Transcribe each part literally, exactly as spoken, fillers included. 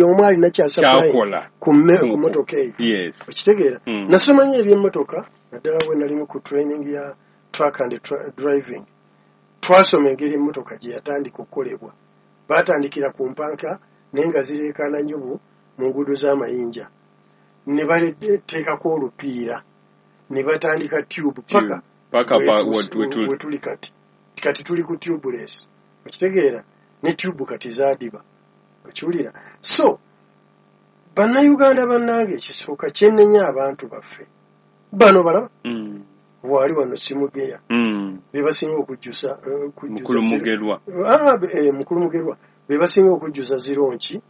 Omu alina kyasupply Kyakola ku mme- ku motoka eyo. Yes okitegeera? Mm. Nasoma nnyo ebyemmotoka, naddala bwe nalimu ku training ya truck and tra- driving. Twasoma engeri emmotoka gye yatandika okukolebwa. Baatandikira ku mpanka, naye nga zireekaana nnyo bu- mu nguudo z'amayinja, ne bateekako olupiira, ne batandika tube paka paka pa wetu- wetu- wetuli kati. Kati tuli ku tubeless, okitegeera? Ne tube kati zaadiba, okiwulira? So Bannayuganda bannange, ekisooka kyennenya abantu baffe bano balaba Mm. bwali wano simugeya, Mm. be basinga okujjusa eh, okujjuza Mukulu zero- Mugerwa. Ah, eh, mukulu Mugerwa, be basinga okujjuza zironki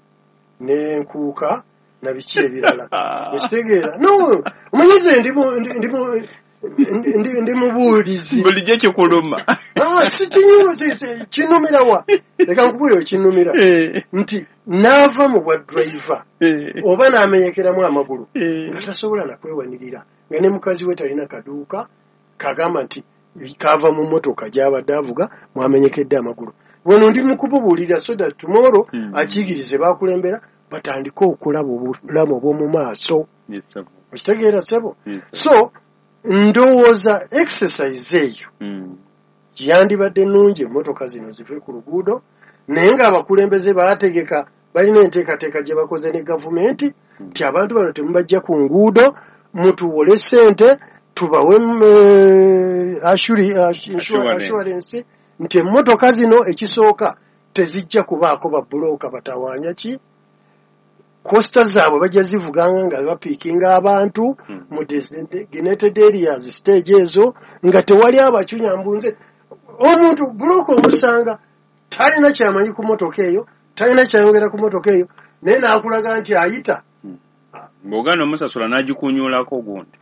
n'enkuuka na biki ebirala, okitegeera? No, omanyize ndi mu- ndi- ndi mu- ndi- ndi- ndi mubuulizi. Bulijjo kikuluma. Ah, si kinyu- si- si- kinnumira wa? Leka nkubuulire, kinnumira Eh, nti n'ava mu bwa driver eh, oba n'amenyekeramu amagulu eh. nga tasobola nakwewanirira, nga ne mukazi we talina kaduuka kagamba nti kava mu motoka gy'abadde avuga mwamenyekedde amagulu. Wano ndi mukububuulira so that tomorrow Mm. akiyigirize bakulembera batandike okulaba obulamu obw'omu maaso. Yes, sir. Okitegeera, ssebo? Yes, sir. So ndowooza exercise eyo Mm. yandibadde nnungi, emmotoka zino zive ku luguudo, naye ng'abakulembeze baategeka, balina enteekateeka gye bakoze ne gavumenti nti abantu bano temubajja ku nguudo, mutuwole ssente tubawe mm, eh, assuri- assu- Assurance. assurance nti emmotoka zino ekisooka tezijja kubaako babulooka batawaanya ki coaster zaabwe, bajja zivuganga nga bapiikinga abantu Mm. mu designated areas, stage ezo nga tewali abacunya mbunze. Omuntu bulooka omusanga talina kyamanyi ku motoka eyo, talina kyayongera ku motoka eyo, naye n'akulaga nti ayita. Bw'ogaana omusasula n'agikunyulako gundi.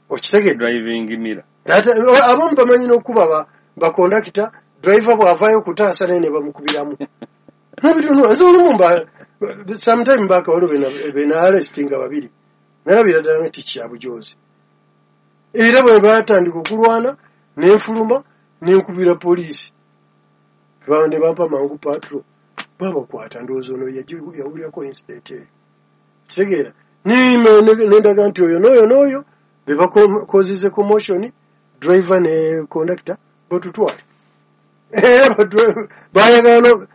Okitegedde? Driving mirror. Ate, abamu bamanyi n'okuba ba- bakondakita, driver bw'avaayo okutaasa naye ne bamukubiramu mubiri. Nze olumu mba sometime back waliwo benaarestinga babiri, nalabira ddala nti kyabujozi, era bwe batandika okulwana nenfuluma nenkubira poliisi Ba- ne bampa mangu patrol, babakwata. Ndowooza ono yagi- yawulirako incident eyo, kitegeera? Nendaga nti oyo n'oyo n'oyo be bakozize commotion, driver ne conductor batutwale. Era ba- bayagala no-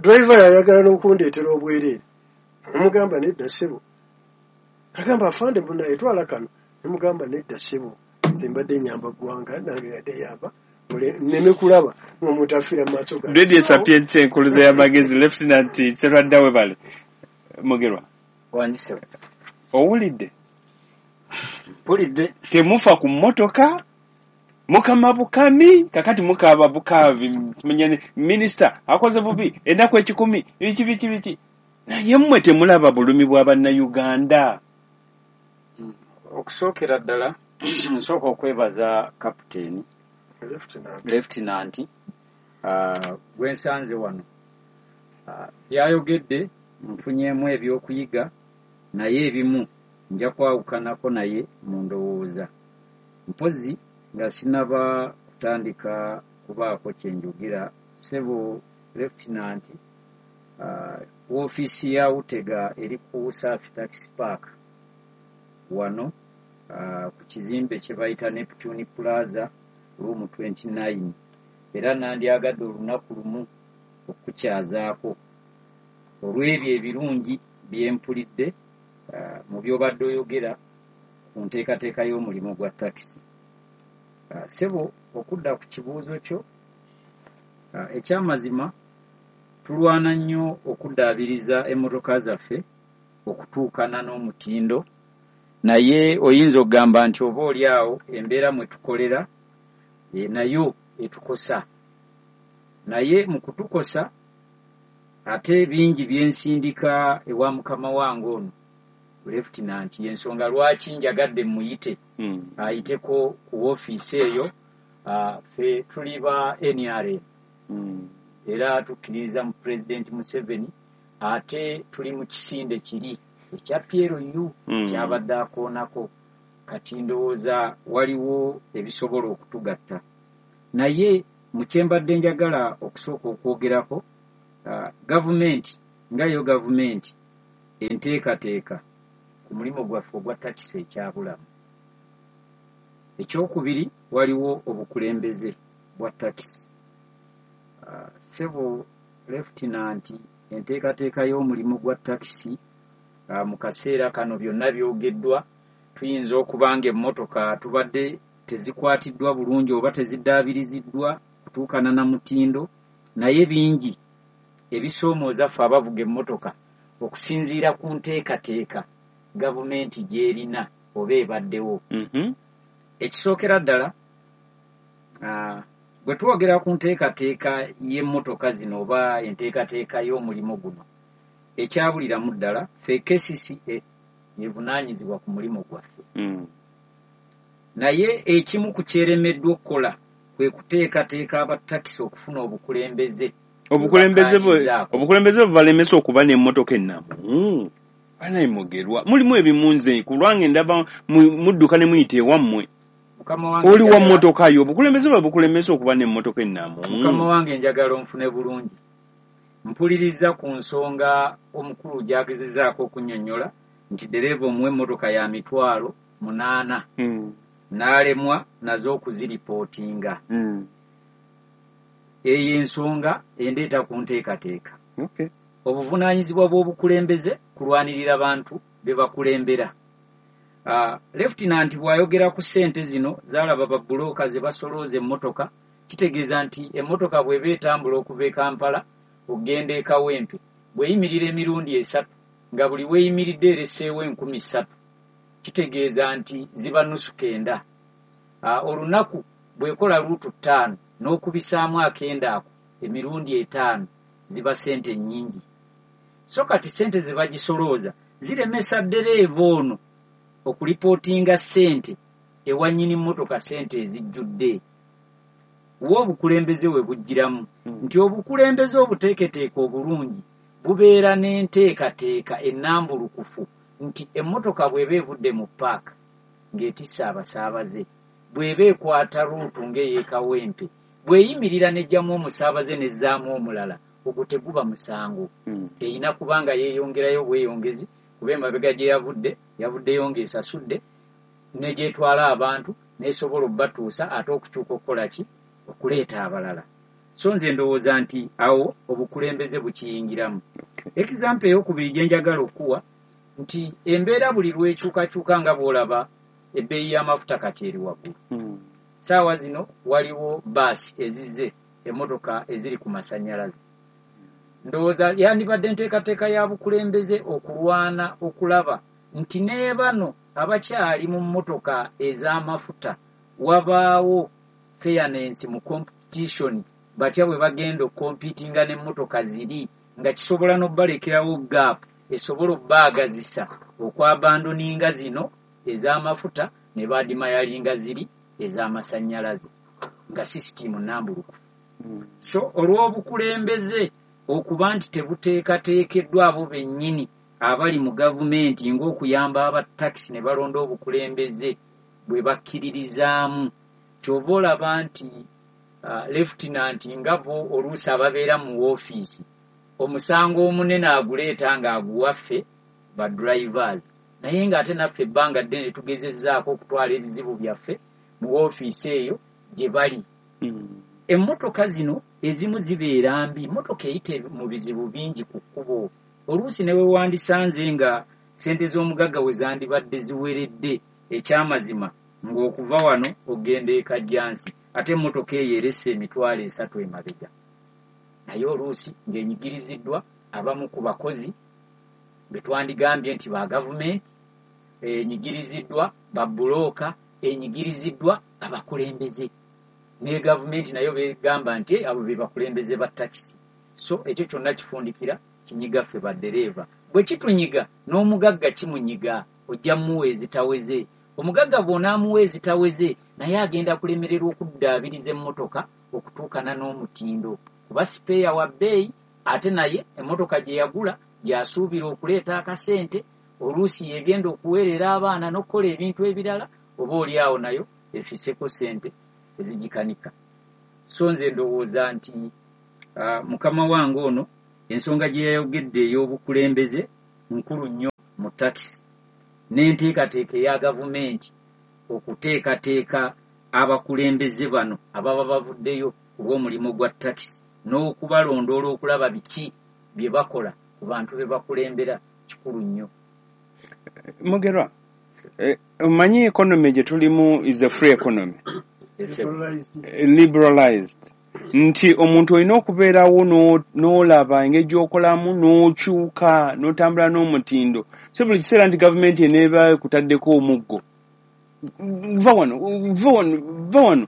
driver yayagala n'okundeetera obwereere. Nemugamba, "Nedda ssebo." Agamba, "Afande, munaye twala kano." Nemugamba, "Nedda ssebo, nze mbadde nyamba ggwanga, nange yadde yamba nneme kulaba ng'omuntu afiira mu maaso gange." Radio Sapientia, enkuluze y'amagezi. Lieutenant Serwadda, webale. Mugerwa. Wandise. Owulidde? Mpulidde. Temufa ku mmotoka, mukama bukami, kakati mukaaba bukaabi, manya minisita akoze bubi ennaku ekikumi, biki biki biki, naye mmwe temulaba bulumi bwa Bannayuganda. Okusookera ddala nsooka okwebaza kapiteeni Lieutenant. Lieutenant uh, gwensanze wano. uh, byayogedde nfunyeemu ebyokuyiga, naye ebimu nja kwawukanako naye mu ndowooza. Mpozi nga sinaba kutandika kubaako kyenjogera, ssebo Lieutenant, uh, woofiisi ya Utega eri ku Safi Taxi Park wano, uh, ku kizimbe kye bayita Neptune Plaza, room twenty-nine, era nandyagadde olunaku lumu okukukyazaako olw'ebyo ebirungi byempulidde uh, mu by'obadde oyogera ku nteekateeka y'omulimu gwa takisi. uh, ssebo okudda ku kibuuzo kyo, uh, ekyamazima tulwana nnyo okuddaabiriza emmotoka zaffe okutuukana n'omutindo, naye oyinza okugamba nti oba oli awo embeera mwe tukolera e, nayo etukosa, naye mu kutukosa ate bingi byensindika ewa mukama wange ono Lieutenant. Yensonga lwaki njagadde muyite Mm. ayiteko ku woofiisi eyo. uh, ffe tuli ba N R M Mm. era tukkiririza mu Pulezidenti Museveni, ate tuli mu kisinde kiri ekya P L U Mm. kyabadde akoonako. Kati ndowooza waliwo ebisobola okutugatta, naye mu kyembadde njagala okusooka okwogerako, uh, gavumenti nga yo gavumenti enteekateeka ku mulimu gwaffe ogwa takisi ekyabulamu. Ekyokubiri, waliwo obukulembeze bwa takisi. Uh, sebo lefutinanti, enteekateeka y'omulimu gwa takisi uh, mu kaseera kano byonna byogeddwa. Tuyinza okuba nga emmotoka tubadde tezikwatiddwa bulungi oba teziddaabiriziddwa kutuukana na mutindo, naye bingi ebisoomooza ffe abavuga emmotoka okusinziira ku nteekateeka gavumenti gy'erina oba ebaddewo. Mhm. Ekisookera ddala, ah, bwe twogera ku nteekateeka y'emmotoka zino oba enteekateeka y'omulimu guno, ekyabuliramu ddala ffe K C C A yevunaanyizibwa ku mulimu gwaffe, Mm. naye ekimu ku kyeremeddwa okukola kwe kuteekateeka abatakisi okufuna obukulembeze Obukulembeze bwe bwebakkaanyizaako. Obukulembeze bubalemesa okuba n'emmotoka ennamu. Banaye mugerwa, mulimu ebimunze ku lwange ndaba mu- mudduka ne muyita ewammwe. Mukama wange, Oli wa njagala- mmotoka yo, obukulembeze bwe bukulemesa okuba n'emmotoka ennamu? Mukama wange, njagala onfune bulungi. Mpuliriza ku nsonga omukulu gy'agezezaako okunnyonnyola nti ddereeva omuwa emmotoka ya mitwalo munaana Mm. n'alemwa nazo okuziripootinga. Mm. Eyo ensonga endeeta ku nteekateeka. Okay. Obuvunaanyizibwa bw'obukulembeze kulwanirira bantu be bakulembera. Uh, lefutinanti bw'ayogera ku ssente zino zaalaba babulooka ze basolooza emmotoka, kitegeeza nti emmotoka bw'eba etambula okuva e Kampala okugenda e Kawempe, bw'eyimirira emirundi esatu nga buli weeyimiridde eresseewo enkumi ssatu, kitegeeza nti ziba nusu kenda. uh, olunaku bw'ekola luutu ttaano n'okubisaamu akenda ako emirundi etaano, ziba ssente nnyingi. So kati ssente ze bagisolooza ziremesa ddereeva ono okulipootinga ssente ewa nnyini mmotoka, ssente ezijjudde. Wa obukulembeze we bugiramu Mm. nti obukulembeze obuteeketeeka obulungi bubeera n'enteekateeka ennambulukufu nti emmotoka bw'eba evudde mu paaka ng'etisse abasaabaze, bw'eba ekwata ruutu ng'ey'ekawempe, bw'eyimirira n'ejjamu omusaabaze n'ezzaamu omulala, ogwo teguba musango. Mm. Erina kubanga yeeyongerayo bweyongezi, kuba emabega gye yavudde yavuddeyo ng'esasudde, ne gyetwala abantu n'esobola obbatuusa ate okukyuka okukola ki, okuleeta abalala. So nze ndowooza nti awo obukulembeze bukiyingiramu. Example eyokubiri gye njagala okuwa nti embeera buli lwekyukakyuka, nga bw'olaba ebbeeyi y'amafuta kati eri waggulu. Mm. Saawa zino waliwo baasi ezizze, emmotoka eziri ku masannyalaze. Ndowooza yandibadde nteekateeka ya bukulembeze okulwana okulaba nti ne bano abakyali mu mmotoka ez'amafuta wabaawo fairness mu competition, batya bwe bagenda okukompitinga n'emmotoka ziri, nga kisobola n'obbalekerawo gap esobola obbaagazisa okwabandoninga zino ez'amafuta ne baadimayalinga ziri ez'amasannyalaze nga sisitimu nambulukufu. Mm. So olw'obukulembeze okuba nti tebuteekateekeddwa abo bennyini abali mu gavumenti ng'okuyamba abatakisi ne balonda obukulembeze bwe bakkiririzaamu, kyova olaba nti uh, lefutinanti nga bo oluusi ababeera mu woofiisi omusango omunene aguleeta ng'aguwaffe ba drivers, naye ng'ate naffe ebbanga ddene tugezezzaako okutwala ebizibu byaffe mu woofiisi eyo gye bali. Mm. Emmotoka zino ezimu zibeera mbi, emmotoka eyita mu bizibu bingi ku kkubo. Oluusi ne we wandisanze nga ssente z'omugagga we zandibadde ziweredde, ekyamazima ng'okuva wano ogenda e Kajjansi, ate emmotoka eyo eresse emitwalo esatu emabega, naye oluusi ng'enyigiriziddwa abamu ku bakozi be twandigambye nti ba gavumenti, enyigiriziddwa babulooka, enyigiriziddwa abakulembeze ne gavumenti nayo begamba nti abo be bakulembeze ba takisi. So ekyo kyonna kifundikira kinyiga ffe baddereeva. Bwe kitunyiga, n'omugagga kimunyiga. Ojja mmuwa ezitaweze. Omugagga bw'onaamuwa ezitaweze, naye agenda kulemererwa okuddaabiriza emmotoka okutuukana n'omutindo, kuba sipeeya wa bbeeyi, ate naye emmotoka gye yagula gy'asuubira okuleeta akasente, oluusi yegenda okuweerera abaana n'okukola ebintu ebirala, oba oli awo nayo efiseko ssente ezigikanika. So nze ndowooza nti uh, mukama wange ono ensonga gye yayogedde ey'obukulembeze nkulu nnyo mu takisi n'enteekateeka eya gavumenti okuteekateeka abakulembeze bano ababa bavuddeyo ku lw'omulimu gwa takisi n'okubalondoola okulaba biki bye bakola ku bantu be bakulembera kikulu nnyo. Mugerwa, eh, omanyi economy gye tulimu is a free economy, liberalized, nti omuntu olina okubeerawo n'olaba engeri gy'okolamu n'okyuka n'otambula n'omutindo. Si buli kiseera nti gavumenti eneeba ekutaddeko omuggo, va wano, va wano, va wano.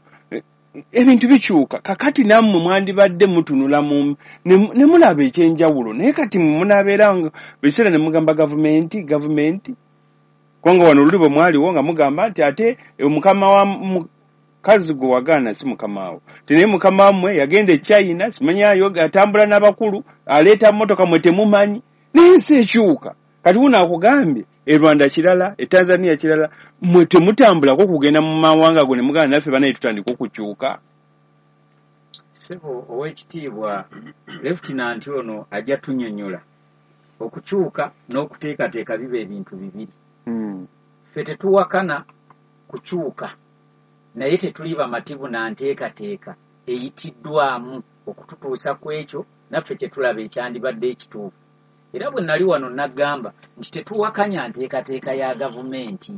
Ebintu bikyuka. Kakati nammwe mwandibadde mutunula mu ne mulaba ekyenjawulo, naye kati munaabeera buli kiseera ne mugamba gavumenti gavumenti, kubanga wano luli bwe mwaliwo nga mugamba nti ate mukama wa mukazi gwe wagaana si mukama wo, ti naye mukama wammwe yagenda e China, simanyi ayo atambula n'abakulu, aleeta mmotoka mwe temumanyi. Naye ensi ekyuka. Kati wuno akugambye e Rwanda kirala, e Tanzania kirala, mwe temutambulako kugenda mu mawanga go ne mugamba naffe banaye tutandika okukyuka. Ssebo ow'ekitiibwa Lieutenant ono ajja tunnyonnyola okukyuka n'okuteekateeka biba ebintu bibiri. Hmm. Ffe tetuwakana kukyuka, naye tetuli bamativu na nteekateeka eyitiddwamu okututuusa ku ekyo naffe kye tulaba ekyandibadde ekituufu. Era bwe nali wano nagamba nti tetuwakanya nteekateeka ya gavumenti,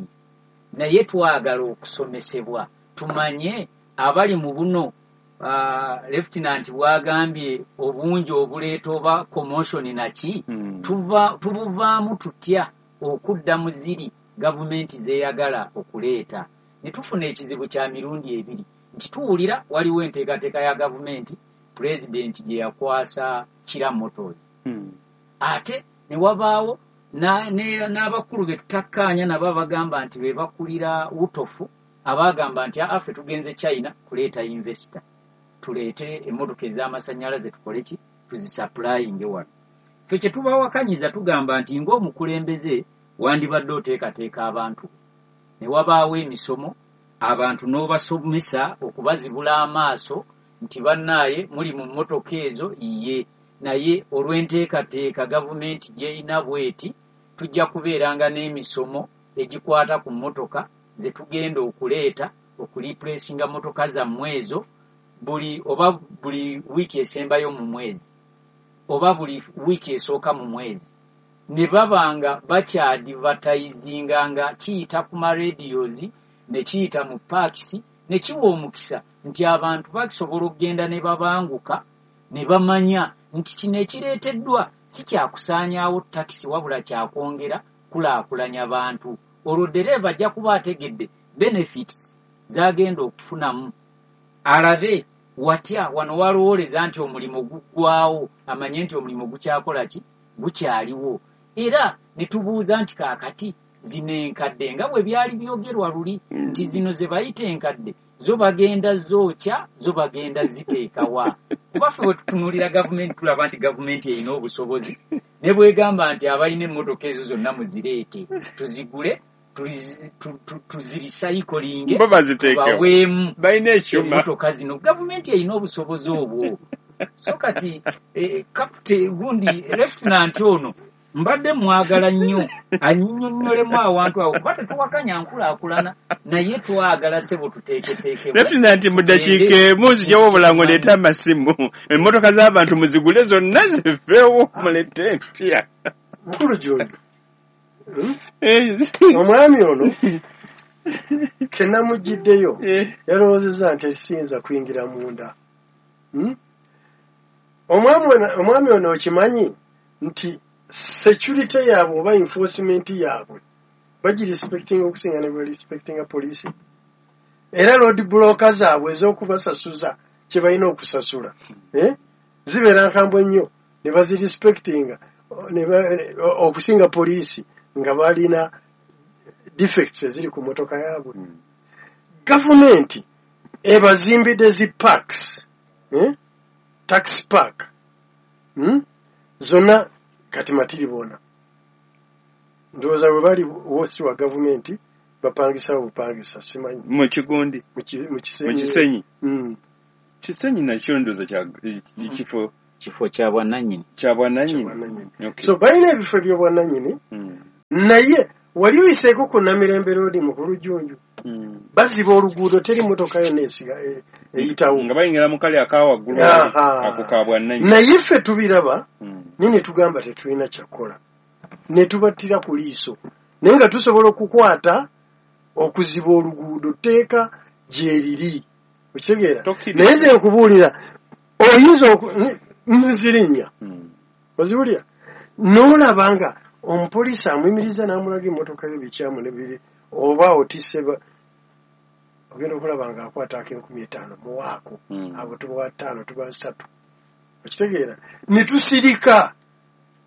naye twagala okusomesebwa tumanye abali mu buno. uh, Lieutenant bw'agambye obungi obuleeta oba commotion naki, Hmm. tuva tubuvaamu tutya okudda mu ziri gavumenti zeeyagala okuleeta. Ne tufuna ekizibu kya mirundi ebiri nti tuwulira waliwo enteekateeka ya gavumenti pulezidenti gye yakwasa Kira Motors, Hmm. ate ne wabaawo n'abakulu be tutakkaanya nabo abagamba nti be bakulira wutofu, abagamba nti aa ffe tugenze China kuleeta investor, tuleete emmotoka ez'amasannyalaze tukole ki, tuzisupplyinge wano. Ffe kye tubawakanyiza tugamba nti ng'omukulembeze wandibadde oteekateeka abantu, ne wabaawo emisomo abantu n'obasomesa okubazibula amaaso nti bannaaye muli mu mmotoka ezo iye, naye olw'enteekateeka gavumenti gy'erina bw'eti tujja kubeeranga n'emisomo egikwata ku mmotoka ze tugenda okuleeta okulipulesinga mmotoka zammwe ezo buli oba buli wiiki esembayo mu mwezi oba buli wiiki esooka mu mwezi. Ne baba nga bakyadivatayizinga nga kiyita ku maradios ne kiyita mu paakisi ne kiwa omukisa nti abantu bakisobola okugenda ne babanguka ne bamanya nti kino ekireeteddwa si kyakusaanyaawo takisi wabula kyakwongera kulaakulanya bantu. Olwo ddereeva ajja kuba ategedde benefits z'agenda okufunamu, alabe watya wano walowooleza nti omulimu guggwawo, amanye nti omulimu gukyakola ki, gukyaliwo. Era ne tubuuza nti kaakati zino enkadde nga bwe byali byogerwa luli nti zino ze bayita enkadde zo bagenda zookya, zo bagenda ziteekawa. Kuba ffe bwe tutunuulira gavumenti tulaba nti gavumenti erina obusobozi ne bwegamba nti abalina emmotoka ezo zonna muzireete tuzigule tuzirisayikolinge bo baziteekewo, baweemu balina ekyuma emmotoka zino. Gavumenti erina obusobozi obwo. So kati eh, kapute gundi Lieutenant ono mbadde mwagala nnyo annyonnyolemu awantu awo, kuba tetuwakanya nkulaakulana naye twagala ssebo tuteeketeekebwe. Lieutenant, mu ddakiika emu nzijawo obulango, leeta amasimu, emmotoka z'abantu muzigule zonna ziveewo mulete empya. Mukulu Jondo, Hmm? Eh, omwami ono kenamugiddeyo eh, yalowoozezza nti siyinza kuyingira munda. Hmm? Omwami ono- omwami ono okimanyi nti security yaabwe oba enforcement yaabwe bagirespectinga okusinga ne bwerespectinga poliisi, era road blocker zaabwe ez'okubasasuza kye balina okusasula, eh? zibeera nkambwe nnyo ne bazirespectinga ne ba- okusinga poliisi nga balina defects eziri ku mmotoka yaabwe. Gavumenti ebazimbidde zi parks, eh? Taxi park, hmm? zonna kati matiri bona ndowooza bwe bali wosi wa gavumenti bapangisawo bupangisa, simanyi. Mu kigundi mu ki- mu mu Kisenyi. Kisenyi. Mm. Kisenyi nakyo ndowooza kya kifo Kifo kya bwannannyini. Kya bwannannyini. Bwannannyini. Okay. So balina ebifo ebyobwannannyini, Mm. naye wali oyiseeko ku Namirembe Road, mukulu Jjunju, Mm. baziba oluguudo, teri motoka yonna esiga e- eyitawo. Nga bayingira mu kali aka waggulu, Aha. ako ka bwannannyini. Naye ffe tubiraba, Mm. naye ne tugamba tetulina kyakukola, ne tubattira ku liiso, naye nga tusobola okukwata okuziba oluguudo, tteeka gyeriri, okitegeera? Tokkiriza. Naye nze nkubuulira, oyinza oku- n- nzirinnya, Mm. oziwulira n'olaba nga omupoliisi amuyimiriza n'amulaga emmotoka yo bikyamu ne biri oba otisse ba- ogenda okulaba nga akwata ak'enkumi etaano muwaako, Mm. abo tubawa ttaano, tuba ssatu, okitegeera? Ne tusirika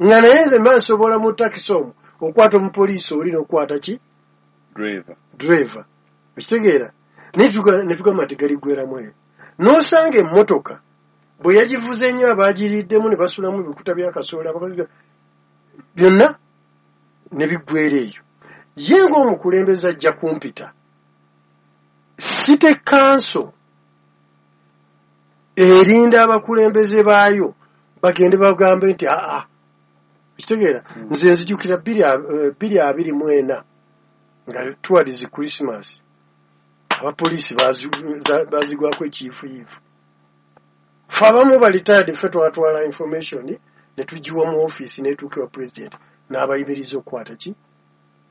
nga naye nze mba nsobola mu takisi omwo okwata omupoliisi oli n'okukwata ki? Driver. Driver, okitegeera? Naye tuga- ne tugamba nti galiggweramu eyo, n'osanga emmotoka bwe yagivuze ennyo, abaagiriddemu ne basulamu ebikuta bya kasooli, abakozi byonna ne biggwera eyo. Ye ng'omukulembeze ajja kumpita city council erinda abakulembeze baayo bagende bagambe nti aa, okitegeera? Mm. Nze nzijukira bbiri a- eh, bbiri abiri mu ena nga towards Christmas, abapoliisi bazi- za- bazigwako ekiyifuyifu. Fe abamu ba retired, ffe twatwala information ne tugiwa mu ofiisi netuuka ewa president n'abayimiriza okukwata ki?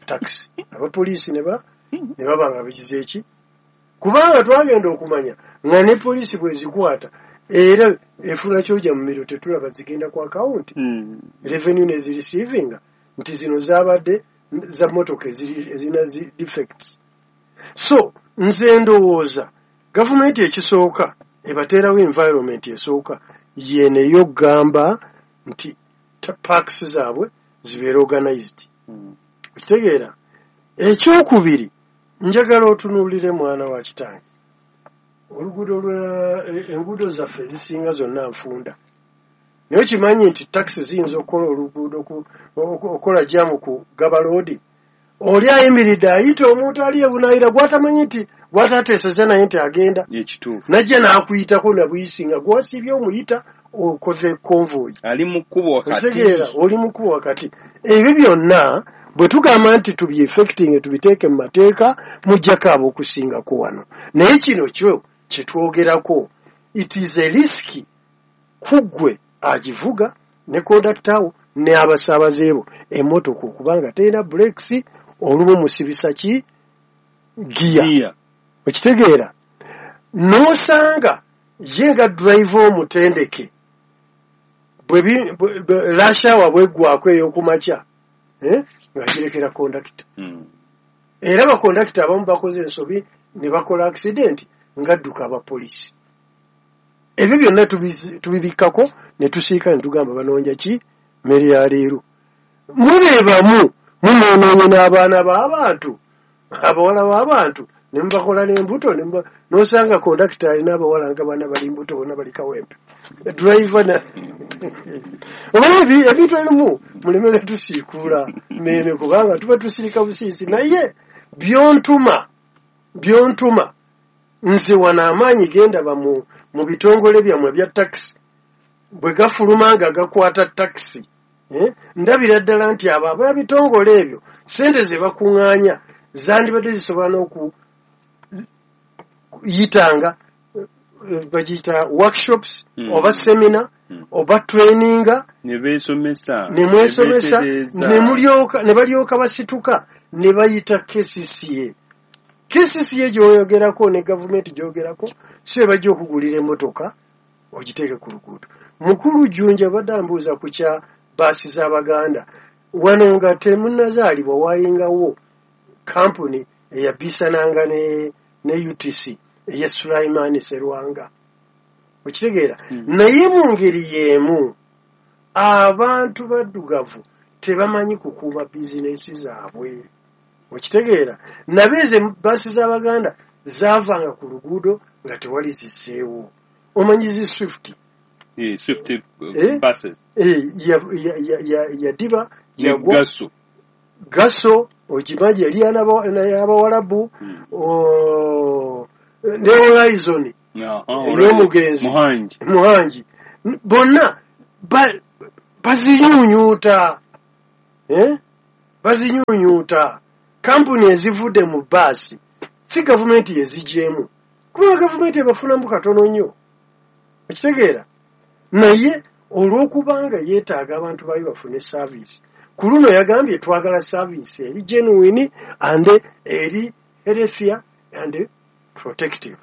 Taxi. Abapoliisi ne ba ne baba nga bigize eki, kubanga twagenda okumanya nga ne poliisi bwezikwata era efuna kyoja mu miro, tetulaba zigenda ku akawunti, Mm. revenue nezireceeivinga nti zino zabadde za motoka eziri- ezirina zi defects. So nze ndowooza gavumenti ekisooka ebateerawo environment esooka yeneyo okugamba nti ta- parks zaabwe zibeere organized, Mm. okitegeera? Ekyokubiri, njagala otunuulire, mwana wa kitange, oluguudo lwa e- enguudo zaffe ezisinga zonna nfunda, naye okimanyi nti takisi ziyinza okukola oluguudo ku- oku- okukola jam ku Gaba Road, oli ayimiridde ayita omuntu ali ebunaayira gwatamanyi nti gwatateeseza naye nti agenda, Ekituufu. najja n'akuyitako nabuyisi nga gwasiibye omuyita okoze convoy. Ali mu kkubo wakati. Okitegeera? Oli mu kkubo wakati. Ebyo byonna bwe tugamba nti tubyeffecting, tubiteeke mu mateeka, mujjako abo okusingako wano. Naye kino kyo kyetwogerako, it is a risk ku ggwe agivuga ne kondakita wo ne abasaabaze bo. Emmotoka okubanga terina brakes, olumu musibisa ki? Giya. Giya. Okitegeera? N'osanga ye nga driver omutendeke, bwe bi- bwe- bwe- rush hour bweggwako ey'okumakya, eh, ng'agirekera kondakita. Mm. Era bakondakita abamu bakoze ensobi ne bakola accident ng'adduka abapoliisi. Ebyo byonna tubizi- tubibikkako ne tusiika ne tugamba banoonya ki? Mmere ya leero. Mubeebamu mumwonoonye n'abaana b'abantu, abawala b'abantu, ne mubakola n'embuto, ne muba- n'osanga kondakita alina abawala nga bana bali mbuto, bonna bali Kawempe, driver na omanyi ebi- ebintu ebimu mulemere tusiikuula meeme, kubanga tuba tusirika busiisi. Naye byontuma byontuma nze wano amaanyi gendaba mu, mu bitongole byammwe bya takisi bwe gafuluma nga gakwata takisi, eh, ndabira ddala nti abo ab'ebitongole ebyo sente ze bakuŋŋaanya zandibadde zisobola n'okuyitanga eh, bagiyita workshops, Mm. oba seminar, Mm. oba traininga, Ne beesomesa. ne mwesomesa, ne beetereeza. ne mulyoka ne balyoka basituka ne bayita K C C A. K C C A gy'oyogerako ne gavumenti gy'oyogerako si be bajja okugulira emmotoka ogiteeke ku luguudo. Mukulu Jjunja badde ambuuza ku kya baasi z'Abaganda. Wano nga temunnazaalibwa waayingawo kampuni eyabisananga ne, ne U T C eya Sulaiman Serwanga, okitegeera? Mm. Naye mu ngeri y'emu abantu baddugavu tebamanyi kukuuma bizinesi zaabwe, okitegeera? Nabe ezo baasi z'Abaganda zaavanga ku luguudo nga tewali zisseewo. Omanyi zi Swift? Eh, Swift uh, Eh? buses. Eh, ya- ya- ya- ya- yadiba Ne yagwa. Gaso. Gaso okimanyi yali y'Abawalabu. Mm. o- ne Horizon Aha, ey'omugenzi Muhangi. Muhangi. N- bonna Bazinyunyuuta, eh? Bazinyunyuuta. Kampuni ezivudde mu baasi si gavumenti yezigyemu, kubanga gavumenti ebafunamu katono nnyo, okitegeera? Naye olw'okubanga yeetaaga abantu baayo bafune service, ku luno yagambye twagala service eri genuine and eri healthier and protective,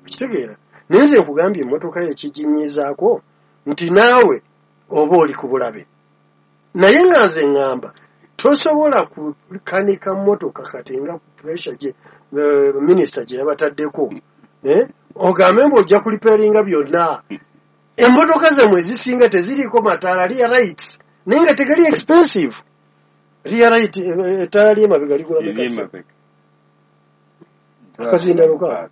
okitegeera? Naye nze nkugambye emmotoka yekiginyizaako nti naawe oba oli ku bulabe. Naye nga nze ŋŋamba tosobola kukanika mmotoka kati nga ku pressure gye minisita gye yabataddeko, ogambe mbu ojja kuliperinga byonna. Emmotoka zammwe ezisinga teziriiko mataala rear lights, naye nga tegali expensive. Rear light, ettaala ly'emabega ligula meka? Akazindalo kaaga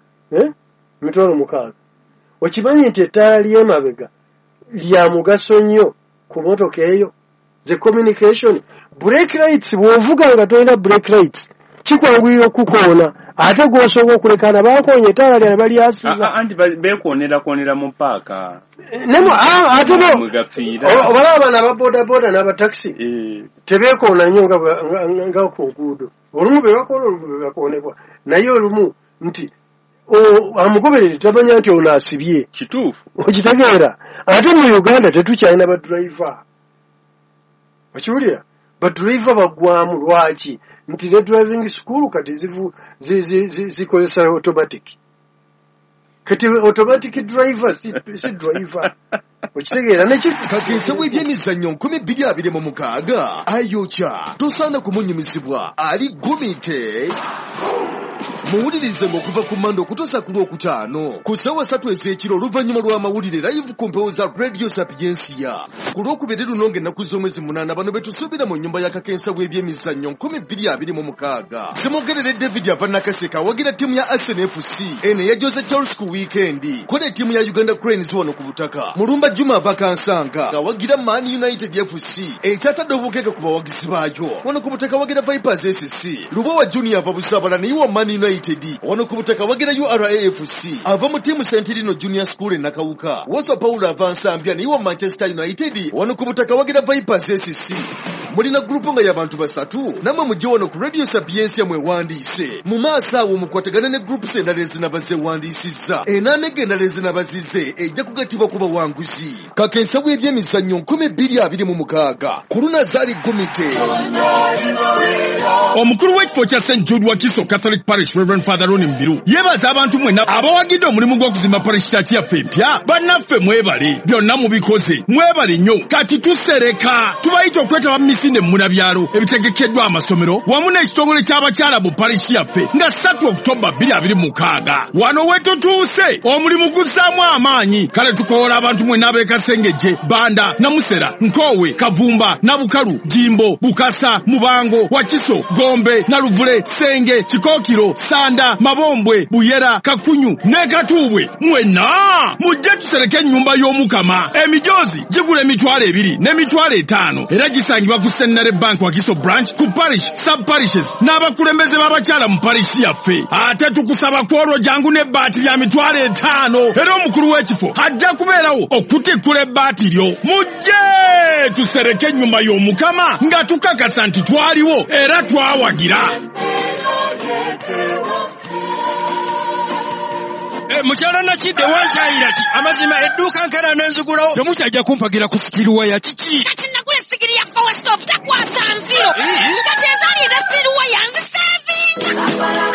emitwalo mukaaga. Okimanyi nti ettaala ly'emabega lya mugaso nnyo ku mmotoka eyo? The communication, brake lights, bw'ovuga nga tolina brake lights kikwanguyira okukoona, ate gw'osooka okulekaana bakoonye ettaala lyabwe balyasiza. Anti beekoonerakoonera mu paaka. Ate obalaba bano aba bodaboda n'abatakisi tebeekoona nnyo nga ku nguudo. Olumu be bakoona, olumu be bakoonebwa, naye olumu nti amugoberere tamanya nti ono asibye. Kituufu. Okitegeera? Ate mu Uganda tetukyalina badriver. Okiwulira? Badriver baggwamu. Lwaki? Nti ne driving school kati zikozesa automatic. Kati automatic driver si driver. Okitegeera? Kakensa w'ebyemizannyo nkumi bbiri abiri mu mukaaga ayokya tosaana kumunyumizibwa ali gumite. Muwulirize ng'okuva ku Mmande okutuusa ku Lwokutaano ku ssaawa ssatu ez'ekiro oluvannyuma lw'amawulire live ku mpewo za Radio Sapiensia. Ku Lwokubiri luno ng'ennaku z'omwezi munaana bano be tusuubira mu nnyumba ya Kakensa w'ebyemizannyo nkumi bbiri abiri mu mukaaga. Ssemogerere David ava Nakaseke awagira ttiimu ya Arsenal F C eno eya Jose Charles ku wiikendi, ko ne ttiimu ya Uganda Cranes wano ku butaka. Mulumba Juma ava Kansanga awagira Man United F C ekyatadde obukeeke ku bawagizi baayo wano ku butaka awagira Vipers S C. Lubowa Junior ava Busabala naye wa Man United wano ku butaka wagira U R A F C ava mu ttiimu Sentirino Junior School e Nakawuka. Woso Paulo ava Nsambya naye wa Manchester United wano ku butaka wagira Vipers S C. Mulina gurupu nga y'abantu basatu nammwe mujje wano ku Radio Sapiensia mwewandiise. Mu maaso awo mukwatagane ne groups endala ezinaba zeewandiisizza. Enaamega endala ezinaba zize ejja kugattibwa ku bawanguzi. Kakensa w'ebyemizannyo nkumi bbiri abiri mu mukaaga ku Lunazaali Gumite. Omukulu w'ekifo kya Saint Jude Wakiso Catholic Parish Reverend Father Ronnie Mbiru yeebaza abantu mwenna abawagidde omulimu gw'okuzimba parish church yaffe empya. Bannaffe mwebale, byonna mubikoze, mwebale nnyo. Kati tusereka, tubayita okwetaba mu misinde munabyalo ebitegekeddwa amasomero wamu n'ekitongole ky'abakyala mu parish yaffe nga ssatu Oktoba bbiri abiri mu mukaaga. Wano we tutuuse omulimu guzzaamu amaanyi. Kale tukoola abantu mwenna ab'e Kasengejje, Banda, Namusera, Nkoowe, Kavumba, Nabukalu, Jimbo, Bukasa, Mubango, Wakiso, Gombe, Naluvule, Senge, Kikookiro, Sanda, Mabombwe, Buyera, Kakunyu ne Katuubwe. Mwenna mujje tusereke ennyumba y'Omukama. Emijoozi gigula emitwalo ebiri n'emitwalo etaano era gisangibwa ku Centenary Bank Wakiso branch, ku parish, sub parishes n'abakulembeze b'abakyala mu parish yaffe. Ate tukusaba kwolwo jangu n'ebbaati lya mitwalo etaano era omukulu w'ekifo ajja kubeerawo okutikkula ebbaati lyo. Mujje tusereke ennyumba y'Omukama nga tukakasa nti twaliwo era twawagira. Mukyala Nakidde wankyayira ki? Amazima edduuka nkera n'enzigulawo. Temukyajja kumpagira ku sitiruwa ya kiki? Kati nagula essigiri ya Four Stop takwasa nziro. Kati ezaali eza sitiruwa yanzisevinga.